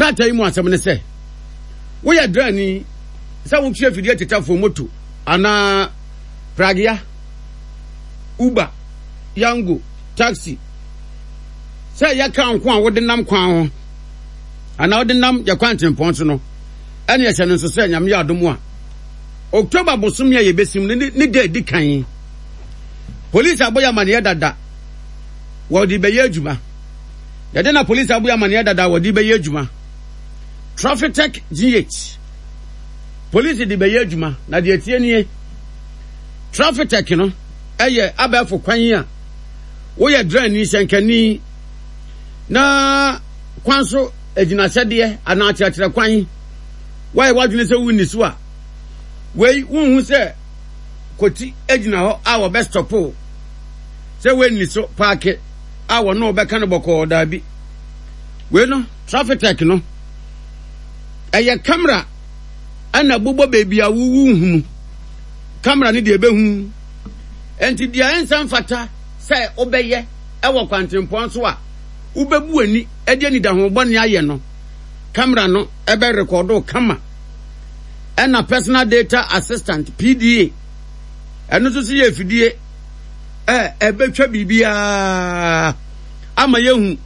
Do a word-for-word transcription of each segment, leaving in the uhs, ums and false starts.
Krataa yi mu asɛm ne sɛ, woyɛ drani sɛ wotwe afidie tetafoɔ moto anaa pragea, Uber, Yango, taxi, sɛ ɛyɛ kaa nko a wode nam kwan ho anaa wode nam yɛ kwan tempɔn so no, ɛne ɛhyɛ no nso sɛ Nyame yɛ adom a, October bosome a yɛbɛsim no ne da edi kan, polisi abɔ yɛ amaneɛ dada wɔde bɛyɛ adwuma. Yɛde na polisi abɔ yɛ amaneɛ dada wɔde bɛyɛ adwuma. Traffic G H polisi de bɛyɛ adwuma na deɛ tie nie, Traffic no ɛyɛ abɛɛfo kwan a woyɛ drani hyɛnkani na kwan so agyinahyɛdeɛ anaa akyerɛkyerɛ kwan woayɛ w'adwene sɛ wonni so a, wei wonhu sɛ kɔti gyina hɔ a wɔbɛ stop sɛ woanni so park a wɔne wɔbɛka no bɔkɔɔ. Daabi, wei no Traffic no ɛyɛ camera ɛna bobɔ baabi a wowu hunu camera no deɛ ɛbɛhu. Nti deɛ ɛnsa mfata sɛ wobɛyɛ ɛwɔ kwantempɔn so a wobɛbu ani ɛde anidaho bɔne ayɛ no, camera no ɛbɛ record kama. Ɛna personal data assistant, P D A, ɛno nso so yɛ afidie ɛ ɛbɛtwa biribiara ama yɛhu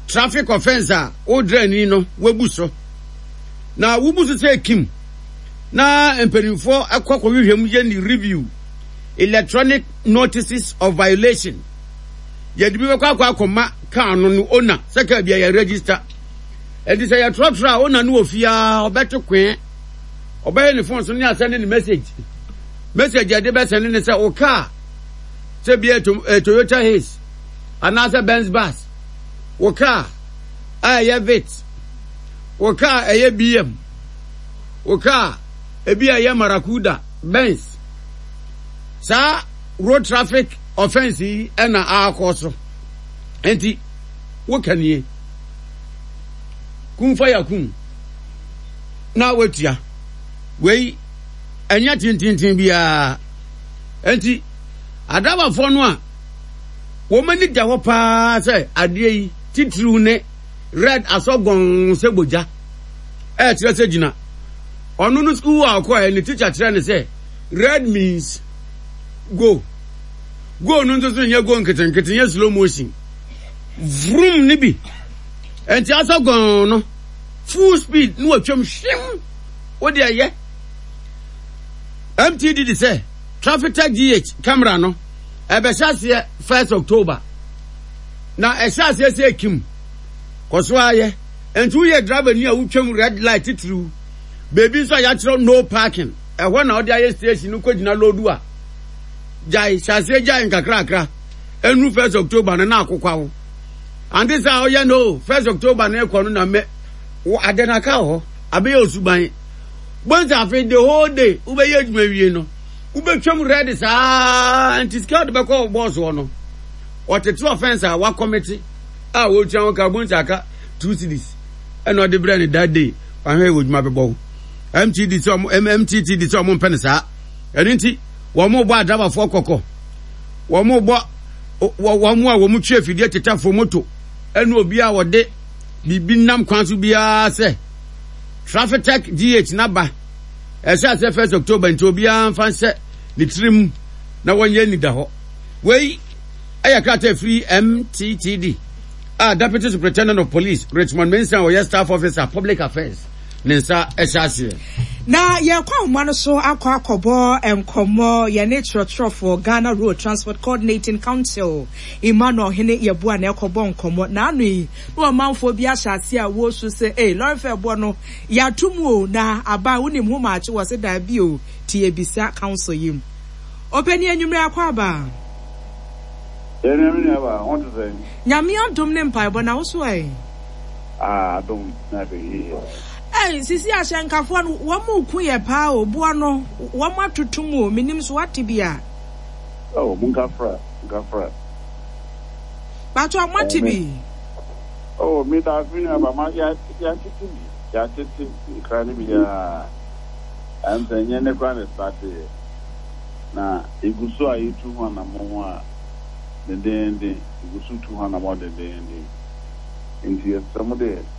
traffic offence a wodrɛ no wabu so na wobu so sɛ kim na mpanimfoɔ ɛkɔ kɔhwehwɛ mu yɛ ne review, electronic notices of violation. Yɛde bi bɛkɔ akɔ akɔma kaa no no owner sɛ kaa bi a yɛ register. Ɛnti sɛ yɛtrɔtrɔ a, owner no wɔ fie a ɔbɛto kwɛn, ɔbɛyɛ ne phone so ne asɛne ne message message yɛde bɛsɛne ne sɛ wo kaa sɛ bi yɛ Toyota Hiace anaasɛ Benz bus, wo kaa a ɛyɛ Vitz, wo kaa ɛyɛ B M, wo kaa ebi a ɛyɛ Maracuda Benz, saa road traffic offence yi ɛna akɔ so. Nti woka nie kumfa yakum na watua. Wei ɛnyɛ tententen biara. Nti adrabafoɔ no a wɔn ani da hɔ paa sɛ adeɛ yi titiriw ne red asɔgɔn sɛ bogya ɛkyerɛ sɛ gyina. Ɔno no sukuu a ɔkɔɛ ne teacher kyerɛ ne sɛ red means go. Go no nso so nyɛ go nketenkete, nyɛ slow motion, vroom ne bi. Nti asɔgɔn no full speed ne watwam hwim. Wode ɛyɛ M T T D sɛ Traffic G H camera no ɛbɛhyɛ aseɛ first October na ɛhyɛ aseɛ sɛ ekim kɔ so ayɛ. Nti woyɛ driver ni a wotwam red light titiriw, beebi nso a yɛakyerɛw no parking, ɛhɔ na ɔde ayɛ station no kɔgyina load a, gyae. Hyɛ aseɛ gyae nkakrakra ɛnu first October no na akokwa wo ante sɛ ɔyɛ no first October no ɛkɔ no na mɛ wo ade no aka wɔ hɔ abɛyɛ osuban bonsa. Afei the whole day wobɛyɛ adwuma wie no, wobɛtwam red saa. Nti sika wode bɛkɔ bɔɔso hɔ no, ɔtete offence a wakɔ commit a wɔtua ho ka bonsa aka two cedis ɛna ɔde brɛ ne that day. Wahwɛ wɔ adwuma bɛbɔ wo. M T D sɛ ɔmo M T T D sɛ ɔmo mpɛ no saa. Ɛno nti wɔn bɔ adrabafoɔ kɔkɔ, wɔn bɔ wɔn a wɔn twe afidie tetafoɔ moto ɛne obi a wɔde biribi nam kwan so biara sɛ Traffic G H naba ɛhyɛ ase first October. Nti obiara nfa nhyɛ ne tirim na wɔnyɛ nida hɔ. Wei ɛyɛ krataa firi M T T D a Deputy Superintendent of Police Richmond Mensah a ɔyɛ Staff Officer, Public Affairs, ne nsa ɛhyɛ aseɛ. Na yɛkɔ ahoma no so akɔ akɔbɔ nkɔmmɔ yɛne kyerɛkyerɛfoɔ Ghana Road Transport Coordinating Council, Emmanuel Hene Yɛboa na ɛkɔbɔ nkɔmmɔ. N'ano yi na ɔmanfoɔ bi ahyɛ ase a wɔresu sɛ ee lorry fare boɔ no yɛato mu o, na aba wonim ho maakye wɔ se daabi o. Ti ebisa council yi mu ɔpɛni anwummerɛ akɔ aba. Yɛn me nua ba, ho te sɛn? Nyame adom ne mpaebɔ, na wo so ɛ? Ah, adom na afei yie. Ɛy, sisi ahyɛnkafoɔ no wɔn mu ku yɛ paa o. Boɔ no wɔn atoto mu o, menim so wate bi a. Oh, munkafra, munkafra. Bato a moate bi. Oh, me da ase, me nua ba, ma yɛatete bi, yɛatete nkra no bi aa. Ɛm sɛ nyɛ ne kora ne start yɛ. Na egu so a yɛtu ho anammɔn a dendenden, egu so tu ho anammɔn dendenden. Nti yɛsrɛ mo dɛ